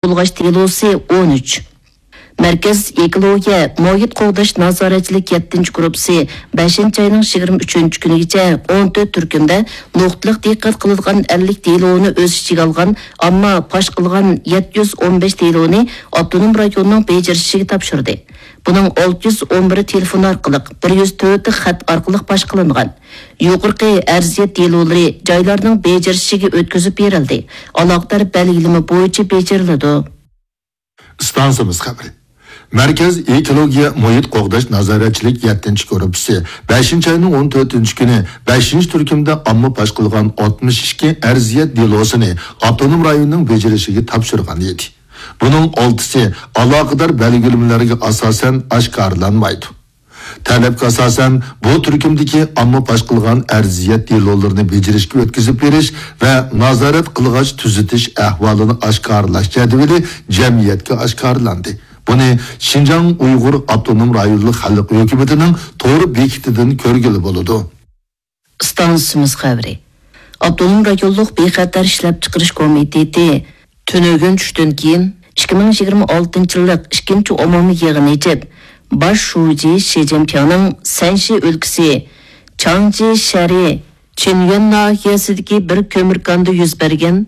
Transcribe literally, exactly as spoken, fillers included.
بۇلغاش دېلوسى ئون ئۈچ. مەركەز ئېكولوگىيە مۇھىت قوغداش نازارەتچىلىك يەتتىنچى گۇرۇپپىسى بەشىنچى ئاينىڭ يىگىرمە ئۈچىنچى كۈنىگىچە ئون تۆت تۈركۈمدە نۇقتىلىق دىققەت قىلىدىغان ئەللىك دېلونى ئۆز ئىچىگە ئالغان، ئامما پاش قىلغان يەتتە يۈز ئون بەش دېلونى ئاپتونوم رايوننىڭ بېجىرىشىگە تاپشۇردى. بۇنىڭ ئالتە يۈز ئون بىرى تېلېفون ئارقىلىق، بىر يۈز تۆتى خەت ئارقىلىق پاش قىلىنغان. يۇقىرىقى ئەرزىيەت دېلولىرى جايلارنىڭ بېجىرىشىگە ئۆتكۈزۈپ بېرىلدى، ئالاقىدار بەلگىلىمە بويىچە بېجىرىلىدۇ. ئىستانسىمىز خەۋىرى. مەركەز ئېكولوگىيە مۇھىت قوغداش نازارەتچىلىك يەتتىنچى گۇرۇپپىسى بەشىنچى ئاينىڭ ئون تۆتىنچى كۈنى بەشىنچى تۈركۈمدە ئامما پاش قىلغان ئاتمىش ئىككى ئەرزىيەت دېلوسىنى ئاپتونوم رايوننىڭ بېجىرىشىگە تاپشۇرغان ئىدى. بۇنىڭ ئالتىسى ئالاقىدار بەلگىلىمىلەرگە ئاساسەن ئاشكارىلانمايدۇ. تەلەپكە ئاساسەن، بۇ تۈركۈمدىكى ئامما پاش قىلغان ئەرزىيەت دېلولىرىنى بېجىرىشكە ئۆتكۈزۈپ بېرىش ۋە نازارەت قىلغاچ تۈزىتىش ئەھۋالىنى ئاشكارىلاش جەدۋىلى جەمئىيەتكە ئاشكارىلاندى. بۇنى شىنجاڭ ئۇيغۇر ئاپتونوم رايونلۇق خەلق ھۆكۈمىتىنىڭ تور بېكىتىدىن كۆرگىلى بولىدۇ. ئىستانسىمىز خەۋىرى. ئاپتونوم رايونلۇق بىخەتەر ئىشلەپچىقىرىش كومىتېتى تۈنۈگۈن چۈشتىن كېيىن ئىككى مىڭ يىگىرمە ئالتىنچى يىللىق ئىككىنچى ئومۇمىي يىغىنى ئېچىپ، باش شۇجى شى جىنپىڭنىڭ سەنشى ئۆلكىسى چاڭجى شەھىرى چىنيۈەن ناھىيەسىدىكى بىر كۆمۈر كاندا يۈز بەرگەن